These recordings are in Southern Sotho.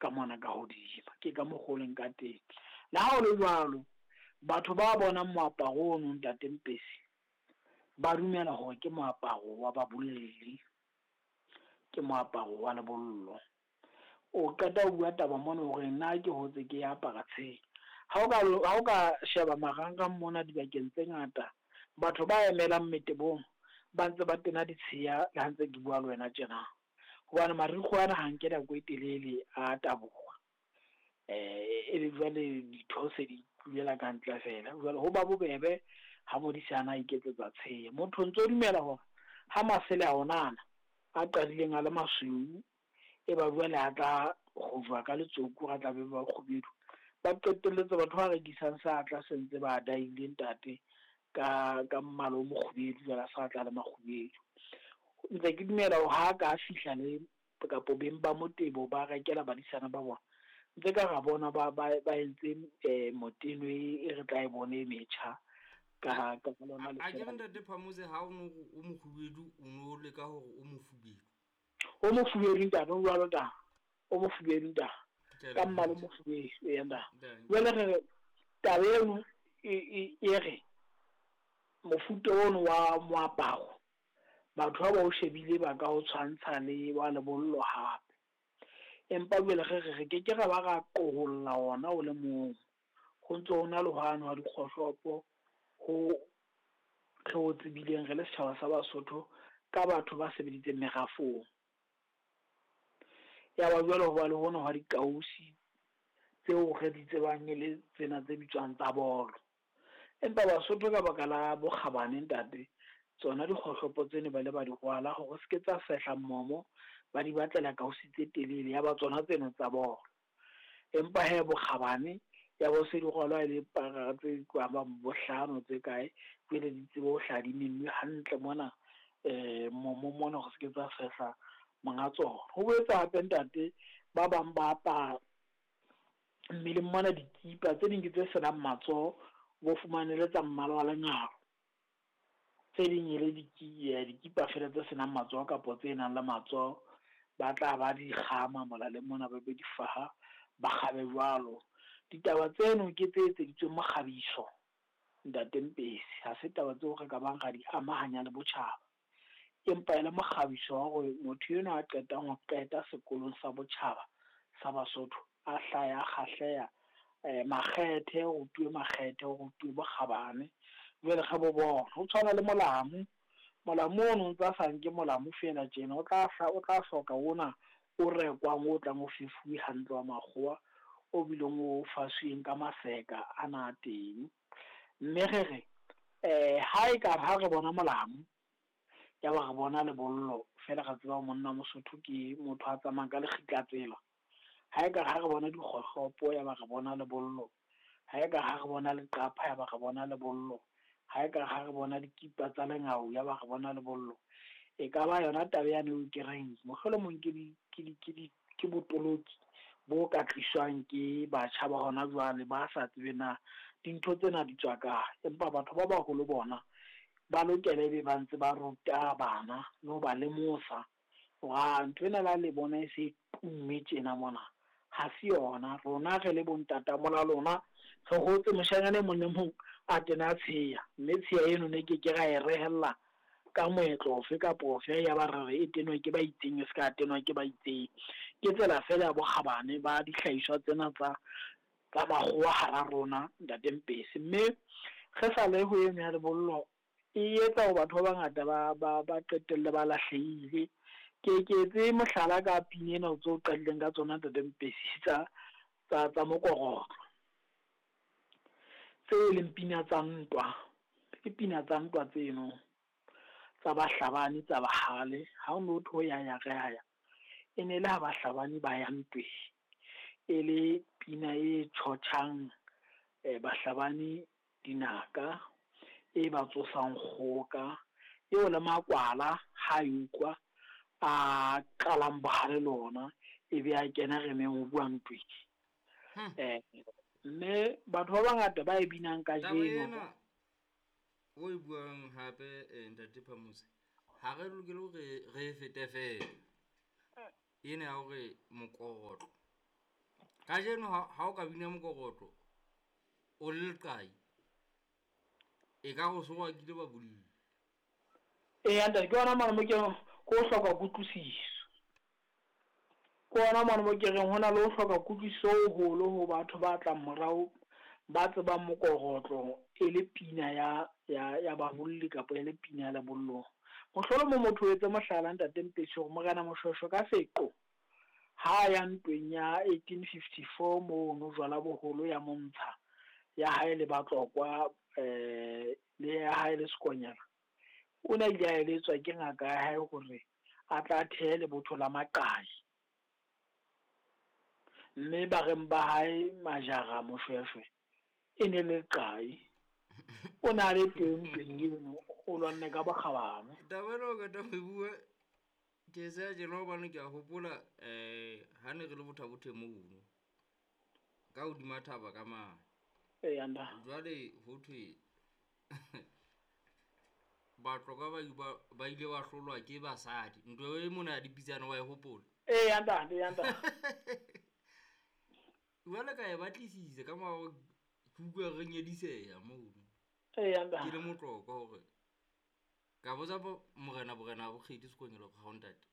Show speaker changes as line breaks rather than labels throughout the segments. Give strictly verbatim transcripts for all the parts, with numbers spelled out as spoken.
ka mona ka hodima. Ke ka mokgwa o leng ka teng. Le ha ho le jwalo, batho ba bonang moaparo ono ntate Mpesi, ba dumela hore ke moaparo wa babolelli, ke moaparo wa lebollo. O qeta ho bua taba mona hore nna ke hotse ke apara tsheya. Ha o ka ha o ka sheba marangrang mona dibakeng tse ngata, batho ba emelang metebong ba ntse ba tena ditsheya le ha ntse ke bua le wena tjena. Hobane marikgwe ana ha nke nako e telele a taboha. Eh e be jwale ditho se di tulela ka ntle fela. Jwale ho ba bobebe ha modisana a iketsetsa tsheya. Motho o ntso dumela hore ha masele a onana a qadileng a le masweu, e ba jwale a tla kgojwa ka letsoku, a tla be ba kgubedu. Ba qetelletse batho ba rekisang sa tla se ntse ba daile ntate ka ka mmala o mokgubedu, jwale a sa tla le makgubedu. Ntse ke dumela hore ha ka fihla le kapo beng ba motebo ba rekela badisana ba bona, ntse ka ra bona ba ba ba entse eh, moteno e e re tla e bone e metjha ka ka lona
A ke re
lesela.
ntate Phamotse ha o no re o mokgubedu, o no leka hore o mofubedu.
O mofubedu ntate, o jwalo ta. O mofubedu ntate.
Ke a
Ka mmala o
leboha.
mofubedu, eya ntate.
Dankie.
Jwale re re taba eno e e e re mofuta ono wa moaparo batho ha ba o shebile ba ka o tshwantsha le wa lebollo hape. Empa jwale re re re ke ke ra ba ra qoholla ona o le mong. Ho ntso ho na le hwane wa dikgohlopo ho re o tsebileng re le setjhaba sa Basotho ka batho ba sebeditseng merafong. Ya ba jwale ho ba le hona hwa dikausi tseo re di tsebang e le tsena tse bitswang tsa bolo. Empa Basotho ka baka la bokgabane ntate, tsona dikgohlopo tseno ba ile ba di rwala hore se ke tsa fehla momo, ba di batlela kausi tse telele ya ba tsona tseno tsa bolo. Empa hee bokgabane ya bo se di rwalwa e le para tse ka bang bohlano tse kae, jwale di tsebe ho hlaha di mennwe hantle mona eh momo mona hore se ke tsa fehla monga tsona. Ho boetse hape ntate ba bang ba apara mmeleng mona dikipa tse ding ke tse senang matsoho, bo fumane le tsa mmala wa lengalo. Tse ding e le diki- eh, dikipa fela tse senang matsoho kapo tse nang le matsoho, ba tla ba di kgama molaleng mona, ba be di faha, ba kgabe jwalo. Ditaba tseno ke tse etseditsweng mokgabiso ntate Mpesi, ha se taba tseo re ka bang ra di amahanya le botjhaba. Empa e le mokgabiso wa hore motho enwa a qetang ho qeta sekolong sa botjhaba sa Basotho a hlaya a kgahleha eh, makgethe, ho rutuwe makgethe, ho rutuwe bokgabane. Jwale re bo bona ho tshwana le molamu. Molamu ono o ntsa sa nke molamu fela tjena, o tla hla- o tla hloka ona o rekwang o tlang o fefuwe hantle wa makgowa, o bileng o fasweng ka maseka ana a teng. Mme re re eh ha e ka ha re bona molamu ya ba re bona lebollo fela, re tseba monna Mosotho ke motho a tsamayang ka lekgitla tsela. Ha e ka ha re bona dikgohlopo ya ba re bona lebollo, ha e ka ha re bona leqapha ya ba re bona lebollo, ha e ka ha re bona dikipa tsa lengau ya ba re bona lebollo. E ka ba yona taba yane eo ke reng mohlolomong ke di ke di ke di ke botoloki bo ka tliswang ke batjha ba hona jwale ba sa tsebe na dintho tsena di tswa kae. Empa batho ba baholo bona ba lokela ebe ba ntse ba ruta bana le ho ba lemosa hore ah, ntho ena la le bona e se e tumme tjena mona, ha se yona. Rona re le bo ntatamola lona re hotse moshanyana e mong le mong a tena tsheya, mme tsheya eno ne ke ke ra e rehella ka moetlo ofe kapa ofe ya ba re re e tenwa ke ba itseng, e se ka tenwa ke ba itseng. Ke tsela fela ya bokgabane ba dihlahiswa tsena tsa tsa makgowa hara rona ntate Mpesi. Mme re sa le ho eno ya lebollo e etsa hore batho ba bangata ba ba ba qetelle ba lahlehile. Ke ke etse mohlala ka pina ena tseo o qadileng ka tsona ntate Mpesi tsa tsa tsa mokorotlo, tseo e leng pina tsa ntwa, ke pina tsa ntwa tseno tsa bahlabani tsa bahale. Ha o no thwe ho ya ya re ya ya, e ne le ha bahlabani ba ya ntweng, e le pina e tjhotjhang eh, bahlabani dinaka, e ba tsosang kgoka, eo le makwala ha e utlwa a qalang bohale le ona, e be a kena remeng ho bua ntweng.
Hmm.
Eh, mme batho ba bangata ba e binang
Taba
kajeno
ena o e buang hape eh, ntate Phamotse, ha re lokele hore re e fete fela. Ena ya hore mokorotlo Kajeno ha o ka bina mokorotlo o le leqai e ka go sowa kile ba bolli.
Eya ntate, ke yona mane mo ke ko hloka kutlwisiso. Ke ona mane mo ke reng ho na le ho hloka kutlwisiso ho holo ho batho ba tlang morao ba tsebang mokorotlo e le pina ya ya ya babolli kapa e le pina ya lebollong. Mohlolomong motho o etse mohlala ntate Mpetshi hore Morena Moshweshwe ka seqo ha ya ntweng ya eighteen fifty-four mono jwala boholo ya Montsha ya hae le Batlokwa eh le ya hae le Sekonyela, o ne a ile a eletswa ke ngaka ya hae hore a tla thehe lebotho la maqai. Mme bareng ba hae Majara Moshweshwe e ne le leqai. O na le teng ntweng eno, o lwanne ka bokgabane.
Taba ena o qeta ho e bua ke se tjena hobane ke a hopola eh ha ne re le Botha-Bothe mono ka hodima thaba ka mane.
Eya nda.
Jwale ho thwe Batlokwa ba ba ba ile ba hlolwa ke basadi. Ntwa e mona ya dipitsana wa e hopola?
Eya ntate, eya ntate.
Jwale ka e batlisisa ka mora ke utlwa re nyediseha mono.
Eya ntate.
Ke le Motlokwa hore ka botsa morena borena bo Kgedi Sekonyela hore ha o ntate.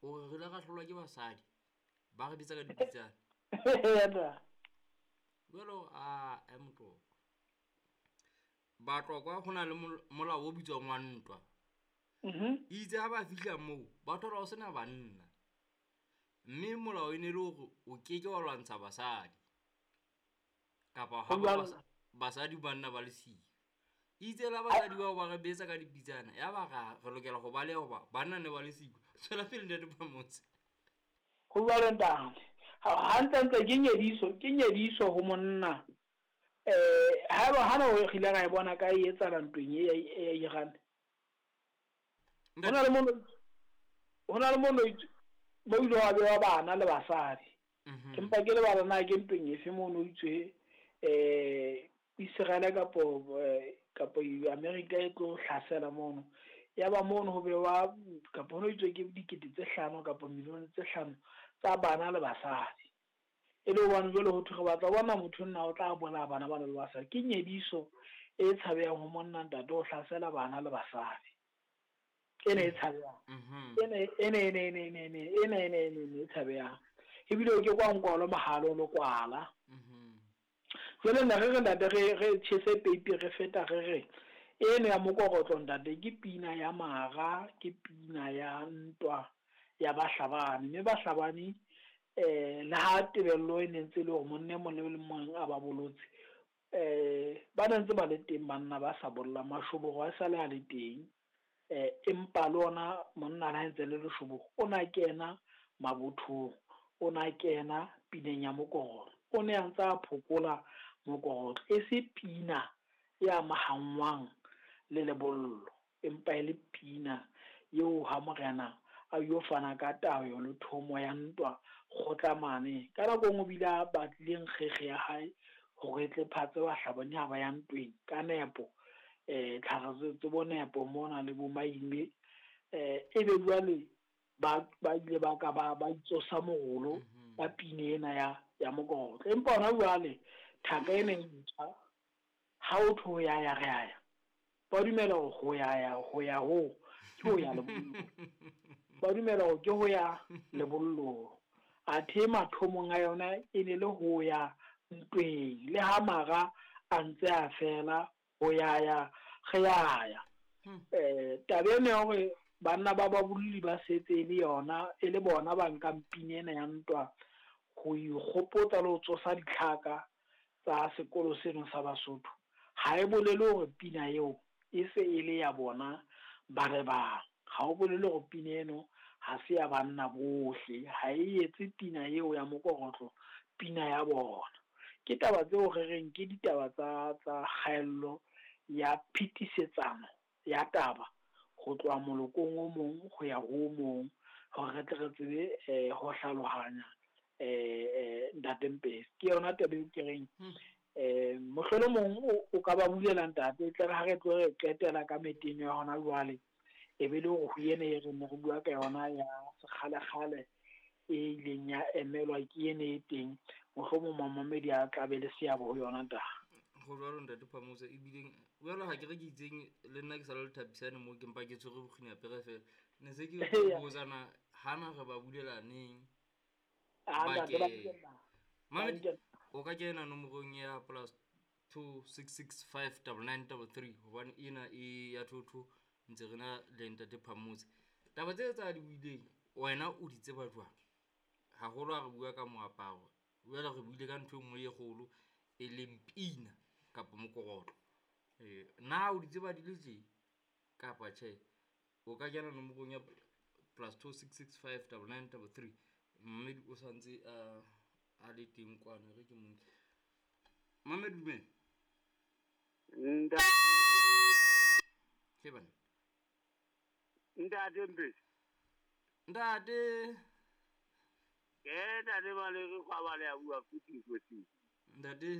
O re re ile ra hlolwa ke basadi ba re bitsa ka dipitsana.
Eya ntate.
Jwale a e Motlokwa. Batlokwa ho na le molao o bitswang wa ntwa.
Mhm.
Itse ha ba fihla moo ba thola ho sena banna. Mme molao e ne le hore o keke wa lwantsha basadi. Kapa ha ba basadi banna ba le siyo. Itse la basadi bao ba re betsa ka dipitsana ya ba ra re lokela ho baleha hoba banna ne ba le siyo. Tswela pele ntate Phamotse.
Ho jwalo ntate. Ha ntse ke nyediso, ke nyediso ho monna. Eh haeba hana o re ile ra e bona ka e etsahala ntweng e ya Iran. Hona le mono, hona le mono mo ile wa bewa bana le basadi. Empa ke lebala na ke ntweng efe mono itswe eh Israel kapo kapo America e tlo hlasela mono. Ya ba mono ho bewa kapo ho itswe ke dikete tse hlano kapo milione tse hlano tsa bana le basadi. E le hobane jwale ho thwe re batla ho bona motho nna o tla bolaya bana ba le basadi. Ke nyediso e tshabehang ho monna ntate ho hlasela bana le basadi. Ena e tshabehang. Ena ena ena ena ena ena ena ena e tshabehang. Ebile ke kwa nkwalo mohalo lo kwala. Jwale nna re re ntate re re tjhese peipi re feta re re eno ya mokorotlo ntate ke pina ya mara, ke pina ya ntwa ya bahlabani. Mme bahlabani eh le ha tebello e ne ntse le hore monna e mong le mong a ba bolotse, eh ba ne ntse ba le teng banna ba sa bollang, mashoboro a sale a le teng. Eh empa le ona monna ha ntse le leshoboro o na kena mabothong, o na kena pineng ya mokorotlo, o ne a ntse a phokola mokorotlo. E se pina ya mahangwang le lebollo, empa e le pina eo ha morena a yo fana ka tayo le thomo ya ntwa kgotla mane. Ka nako e nngwe o bile a batlile nkgekge ya hae hore e tle phatse bahlabani ha ba ya ntweng ka nepo. Eh tlhare tse bo nepo mona le bo maime, eh ebe jwale ba ba ile ba ka ba ba itsosa morolo ka pina ena ya ya mokorotlo. Empa hona jwale thaka ena e ntjha ha o thwe ho ya ya re ya ya, ba dumela hore ho ya ya ho ya ho ke ho ya lebollong. Ba dumela hore ke ho ya lebollong. Athe mathomong a yona e ne le ho ya ntweng, le ha mara a ntse a fela ho ya ya re ya ya. Eh taba ena ya hore banna ba babolli ba setse e le yona e le bona ba nkang pina ena ya ntwa ho ikgopotsa le ho tsosa ditlhaka tsa sekolo seno sa Basotho, ha e bolele hore pina eo e se e le ya bona ba re bang. Ha o bolele hore pina eno ha se ya banna bohle, ha e etse pina eo ya mokorotlo pina ya bona. Ke taba tseo re reng ke ditaba tsa tsa kgaello ya phetisetsano ya taba ho tloha molokong o mong ho ya ho o mong, hore re tle re tsebe eh ho hlalohanya eh ntate Mpesi. Ke yona taba eo ke reng eh mohlolomong o ka ba bulela ntate, tle re ha re tlo re qetela ka meteng ya hona jwale e be le hore ho ena e re ne re bua ka yona ya sekgalekgale e ileng ya emelwa ke ene e teng, mohlomong mamamedi a tla be le seabo ho yona ntate.
Go jwalo ntate Phamotse, ebileng jwalo ha ke re ke itseng le nna ke sa le lethapisane mo ke mpa ke tshwere bokgini apere fela. Ne se ke botsana hana re ba bulela neng. Mamedi o ka kena nomorong ya plus two six six five double nine double three hobane ena e ya thotho ntse re na le ntate Phamotse. Taba tse tsa di buileng wena o di tseba jwang? Haholo ha re bua ka moaparo, jwale re buile ka ntho e nngwe e kgolo e leng pina kapa mokorotlo. Eh na o di tseba di le tje kapa tjhe? O ka kena nomorong ya plus two six six five double nine double three. Mme o santse a a le teng kwana re ke mo. Mame dumela.
Nda
Ke bana.
Ntate Mpesi.
Ntate.
Ke ntate ba le re kwa ba le a bua futhi futhi.
Ntate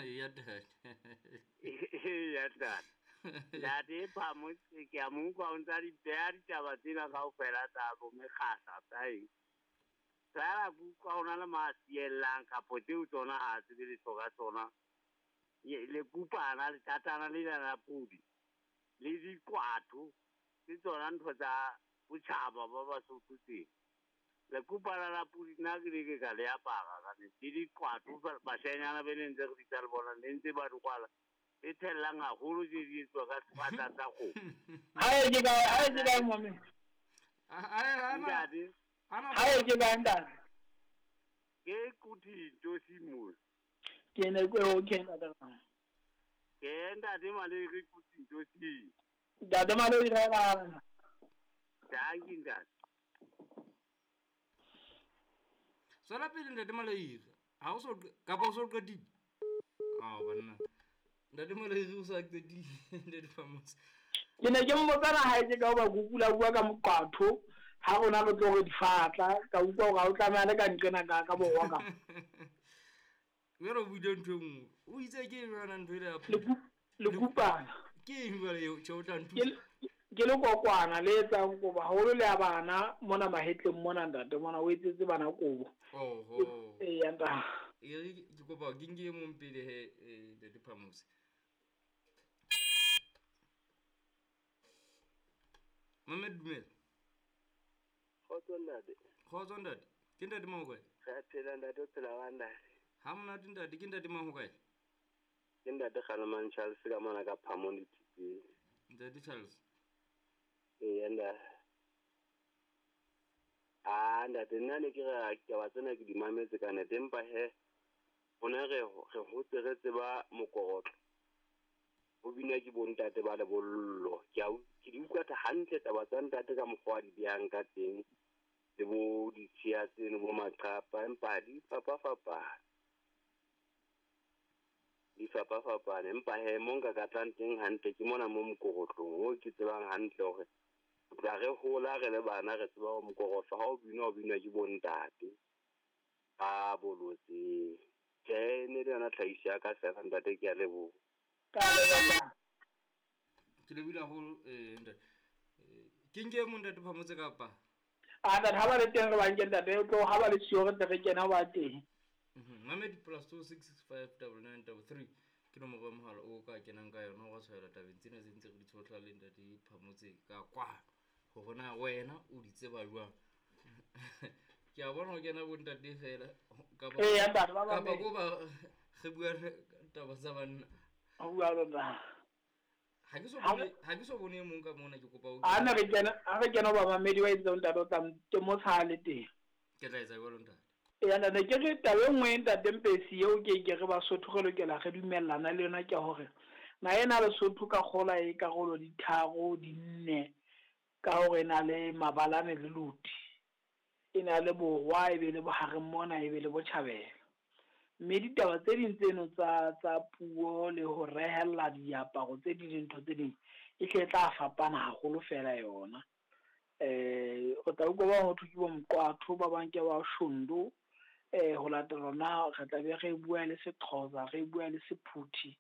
ya ntate.
Ya ntate. Ntate Phamotse ke a mo utlwa o ntsa di beha ditaba tsena kaofela tsa bo mekgasa tsa eng. Fela ke utlwa ho na le masiellang kapo tseo tsona ha tsebe letho ka tsona. Le kupana le tatana le la pudi le dikwatho ke tsona ntho tsa botjhaba ba Basotho teng. Le kupana la pudi nna ke ne ke ka le apara ka nnete. Le dikwatho bashanyana be ne ntse re bitsa le bona ne ntse ba di kwala. E thellang haholo tse di etswa ka sefatla sa kgomo.
Hae ke kae, hae ke kae mame?
Ntate.
Hae ke kae ntate?
Ke kuthi Tosimos.
Ke ne ke o ke ntate.
Ke ntate Malere kuthi Tosimos.
Ntate Malere ra.
Dankie ntate.
Tswela pele ntate Malere. Ha o so kapa o so qetile? Ah banna. Ntate Malere o sa qetile ntate Phamotse.
Ke ne ke mmotsana hae ke ka ba kukula bua ka moqatho ha rona re tlo re difatla ka utlwa hore ha o tlameha le ka nqena ka ka borwa ka.
Jwale o buile ntho e nngwe. O itse ke eng jwana ntho ele ya
Le kupana.
Ke eng jwale eo tjhe o tla nthusa?
Ke le kokwana le etsang kobo haholo le ya bana mona mahetleng mona ntate mona o etsetse bana kobo.
Oho.
Eya ntate.
E re ke kopa ke nke e mong pele he ntate Phamotse. Mame dumela.
Kgotso ntate.
Kgotso ntate. Ke ntate mang ho kae?
Re phela ntate, o phela wa ntate.
Ha monate ntate, ke ntate mang ho kae?
Ke ntate Kgalemang Charles ka mona ka Phamoni Thipeng.
Ntate Charles.
Ee ntate. Ah ntate nna ne ke re taba tsena ke di mametse ka nnete empa he rona re re hotse re tseba mokorotlo. O bina ke bontate ba lebollo. Ke a ke di utlwa hantle taba tsa ntate ka mokgwa di behang ka teng le bo ditshiya tseno bo maqapa empa di fapafapane. Di fapafapane empa he mo nka ka tlang teng hantle ke mona mo mokorotlong o ke tsebang hantle hore tla re hola re le bana re tseba hore mokorotlo ha o binwa o binwa ke bontate ba bolotseng. Tjhe ne le yona tlhahiso ya ka fela ntate, ke a leboha.
Ke lebile haholo eh ntate. Ke nke mong ntate Phamotse kapa?
Ah ntate ha ba le teng re ba nke ntate o tlo ha ba le siyo re tle re kena ba teng.
Mhm. Mamedi plus two six six five double nine double three ke nomoro ya mohala o ka kenang ka yona wa tshwaela tabeng tsena tse ntse re di tshohla le ntate Phamotse ka kwano. Hore na wena o di tseba jwang? Ke a bona ho kena bo ntate fela kapa
Eh ntate ba ba.
Kapa ko ba re bua taba tsa banna.
O bua lo nna.
Ha ke so bone ha ke so bone e mong ka mona ke kopa o.
A ne re kena a re kena ba mamedi wa itse ntate o tla temosa le teng.
Ke tla etsa jwalo ntate.
Eya ntate ke re taba e nngwe ntate Mpesi eo ke ke re Basotho re lokela re dumellana le yona ke hore na ena Lesotho ka kgola e karolo di tharo di nne ka hore na le mabalane le loti. E na le borwa e be le bohareng mona e be le botjhabela. Mme ditaba tse ding tseno tsa tsa puo le ho rehella diaparo tse ding dintho tse ding e tle tla fapana haholo fela yona. Eh o tla utlwa ba ho thwe ke bo Mqwatho ba bang ke ba Shondo eh ho latela na re tla be re bua le Sexhosa re bua le Sephuthi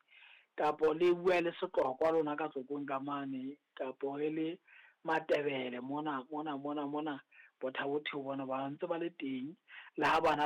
kapo le bua le Setlokwa lona ka Tlokong ka mane kapo e le Matebele mona mona mona mona Bo Thabo Theo bona ba ntse ba le teng. Le ha bana